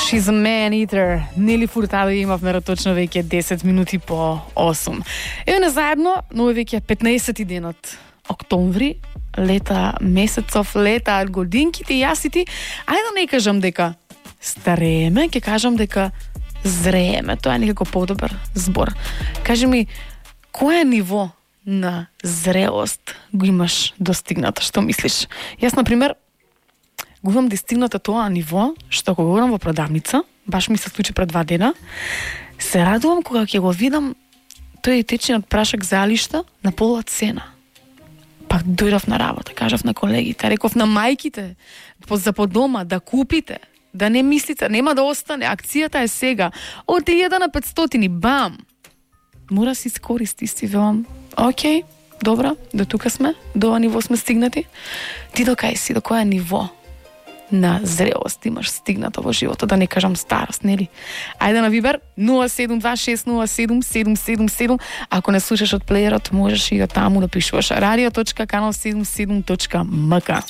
She's a man eater. Нели Фуртадо имавме точно веќе 10 минути по 8. Еве на заедно, но веќе 15 денот октомври, лета месецов, лета годинките и јасити. Ајде да не кажам дека старееме, ќе кажам дека зрееме. Тоа е некако подобар збор. Кажи ми, кое ниво на зрелост го имаш достигнато? Што мислиш? Јас, например, го имам достигнато тоа ниво, што кога одам во продавница, баш ми се случи пред 2 дена, се радувам кога ќе го видам тој течниот прашак залишта на пола цена. Пак дојдов на работа, кажав на колегите, реков на мајките, за по дома, да купите, да не мислите, нема да остане, акцијата е сега, од 1000 на 500, бам! Мора си искористи, си велам, окей, добра, до тука сме, до ова ниво сме стигнати. Ти до кај си, до која ниво на зрелост имаш стигнато во животот, да не кажам старост, нели? Ајде на Вибер 0726077777. Ако не слушаш од плеерот, можеш и таму да пишуваш radio.kanal77.mk.